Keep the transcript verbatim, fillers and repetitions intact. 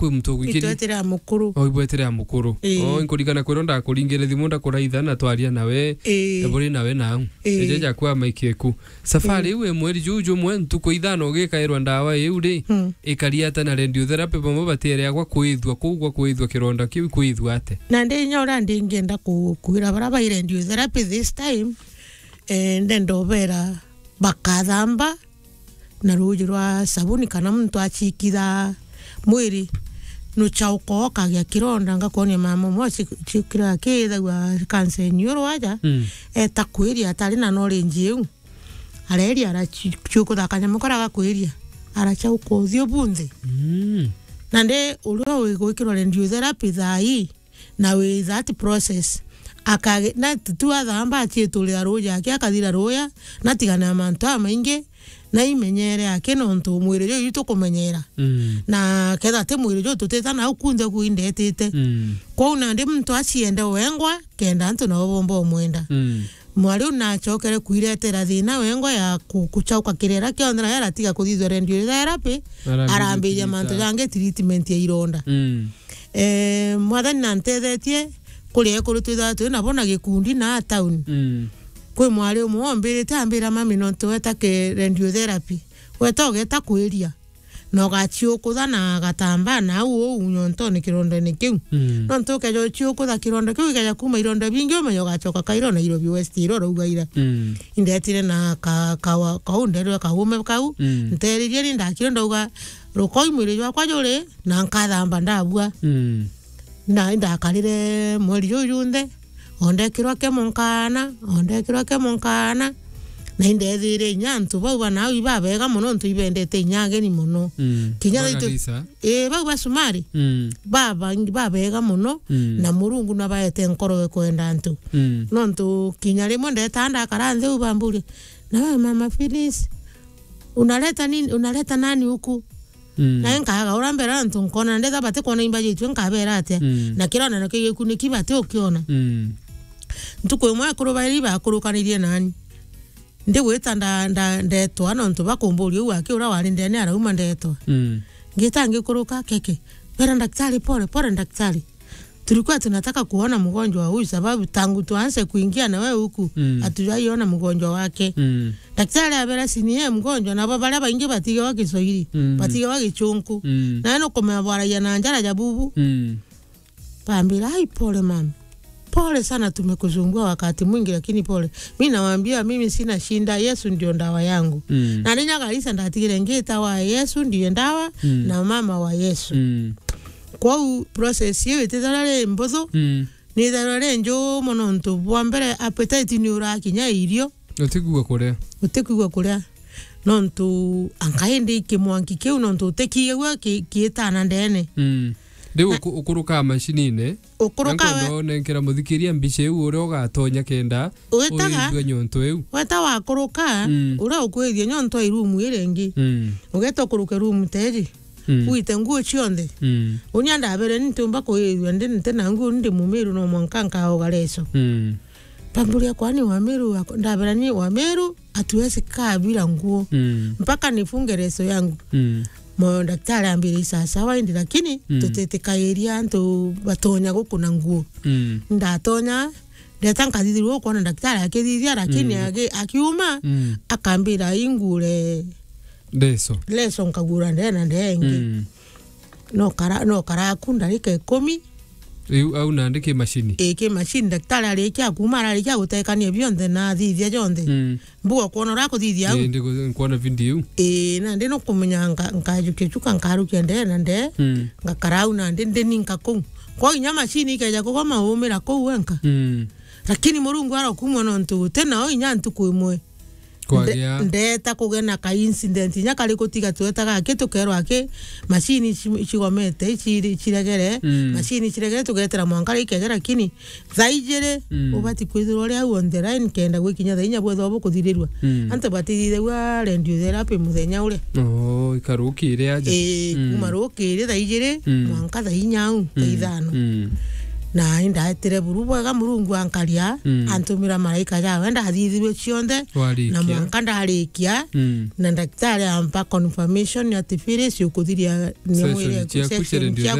kwi muntu ugwikirie. Itwetire a mukuru. O, ibwetire a mukuru. Ii. O, nkurigana kwiro ndakuringire thimu ndakuraitha na twaria nawe. Ii. Eburi nawe nau. Ii. Eje jakwa maikieku. Safari iu e mweri juu jumwe, ntuku ithano ugikairwa ndawa iu ri, hmm, ikari ata na radiotherapy bamwe batiere agwa kwithua kuu gwa kwithua kironda kiu kwithua ate? Na ndi inya uria ndi ngienda ku-, kwira baria bai radiotherapy this time, eh, ndenda ubera bakathamba na ruuji rwa sabuni kana muntu acikitha mwiri nuchauka ukagia kironda. Ngakwonia mama umwe ci-, cikira akithagua kansa eniuru aja, mm, eta kwiria atari na knowledge iu. Areria arachi-, chiukuthaka nyamu kara gakwiria, arachauka uthiu bunthe. Mm. Na ndi uria wi gwikirwa radiotherapy thaa ii, na wi that process, akage-, na tu athamba achiiturira ruuji aki akathira ruuya, na atigane na mantu jamaingi, na imenyere aki nontu mwiri juju tukumenyera. Mm. Na ketha ti mwiri juju tutita nau kunthe ku indetite. Mm. Kwou nandi muntu achiende wengwa, kenda antu nabo bomba umwenda. Mm. Mwari u nachokere kwiretera thina wengwa ya ku-, kuchauka kirera kionthe, na aratiga kuthithua radiotherapy, arambiria mantu jangi, treatment ya ironda. Mm. Eh, Mwathani nantethetie kuria ekuru twithagwa twi nabo na gikundi na town. Mm. Kwi mwari umwe ombirite ambira, "Mami, nontu weta ke radiotherapy, weta ugeta kwiria." Na ugachiukutha na gatambaa nau uu nyontone kirondene kiu. Mm. Nontu ukeja uchiukutha kironda kiu, gikeja kuuma ironda bingi, umenye ugachoka kairo Nairobi West iro uraugaira. Mm. Indetire na ka-, kawa-, kau nderwe kaume kau, mm, nteririe ni ndakire ndauga, "Rukoi mwiri jwakwa juri, na nkathamba ndabua." Mm. Na indakarire mweri juu junthe, ondekirwa kemo nkaana, ondekirwa kemo nkaana, na indethire inya antu bau bana au ibabega mono, ntu ibendete inya ageni mono. Mm. Kinya bana thaitu Lisa? Ii, bau ba Sumari, mm, babangi, babega mono, mm, na Murungu nabaete nkoro e kwenda antu. Mm. Nontu kinya rimwe ndeta ndakara nthi u bamburia, "Na we Mama Phyllis, unaleta nini, unaleta nani huku?" Mm. Na nkaga ura mbere antu nkona ndetha bati kwona imba jitu nkabera atia. Mm. Na kirona na kigikuniki bati ukiona. Mm. Ntuku imwe akuru bairi bakurukanirie nani. Ndigwita nda-, nda-, ndetwa nontu bakumburia u aki ura wari ndene arauma ndetwa. Mm. Ngita ngikuruka, keke. Bera daktari, pole, pole daktari. Tulikuwa tunataka kuona mgonjwa huyu sababu tangu tuanze kuingia na wewe huku, mm, hatujaiona mgonjwa wake. Mm. Daktari abera, "Si ni yeye mgonjwa, nabo baria baingi batigewa Kiswahili, mm, batigewa Gichunku." Mm. Na nukumenya bwaragia na njara ja bubu. Mm. Bambira, "Ai, pole mama. Pole sana, tumekusumbua wakati mwingi, lakini pole." Mi nawaambia, "Mimi sina shinda, Yesu ndio ndawa yangu." Mm. Na ni nyagarisa ndatigire ngita wa Yesu ndiye ndawa, mm, na mama wa Yesu. Mm. Kwou process iu itithira ri mbuthu, mm, nithirwa ri njumu nontu bwa mbere appetite ni urakinya irio. Utikwigua kuria. Utikwigua kuria. Nontu anga indi kimwanki kiu nontu utikigagua ki-, kiitana ndene. Mm. Riu na uku-, ukurukaa mashinine. Ukuruka na nkwenda we- unenkera muthikiria mbica iu uria ugatonya kenda witaga, uithue nyonto iu. Weta wakuruka, mm, uria ukwithia nyonto i room iria ingi. Mm. Ugeta ukuruke room teji. Mm. Wite nguo cionthe. Mm. Unya ndabere ni ntiumba kuithua ndi nte na nguo ndi mumiru no mwanka nkaoga leso. Mm. Bamburia kwani wamiru wako? Ndabera ni wamiru hatuwezi kaa bila nguo. Mm. Mpaka nifunge leso yangu. Mm. Mo daktari ambire, "Sawa sawa indi lakini, mm, tutitikairia antu batonya gukuna nguo." Mm. Ndatonya, ndeta nkathithirwa ukwona daktari akithithia, lakini, mm, agi-, akiuma, mm, akambira ingure leso. Leso nkagura ndena ndengi. Mm. No kara-, no karaku ndarika ikumi. Riu au nandi ki mashini? Ii, ki mashini. Daktari arikia kuma, ararikia gutekania bionthe na athithia jonthe. Mm. Mbuga kwona uria akuthithia au. Ii, ndi ku-, nkwona video iu. Ii, nandi nukumenya nka-, nkajukia chuka nkarukia ndee na ndee, mm, ngakara au nandi ndininka kuu. Kwa inya mashini ikeja kugoma umira kuu wenka. Mm. Lakini Murungu arokumwa nontu uti nao inya ntuku imwe. Kwagia. Nde-, ndeta kugena ka incident inya kari gutiga twetaga aki tukerwa aki mashini ci-, cigomete, ciri-, ciregere, mm, mashini ciregere tugetera mwanka rikegera kini thaa ijiri, mm, ubati kwithirwa uri au on the line kenda gwikinya thaa inya bwethwa bukuthirirua. Mm. Antu batithithagua radiotherapy muthenya uria. Oo, ikarukire aja. Ii, mm, kuma rukiri thaa ijiri, mm, mwanka thaa inya au, thaa, mm, ithano. Mm. Na indaetire buru bwega, Murungu ankaria, Mm. antumira maraika jawe, ndathithirwe cionthe, Warikia. na mwanka ndarikia, Mm. na ndagitari ampa confirmation ati, "Phyllis, ukuthiria ni Session mwire ciaku session cia radio ciaku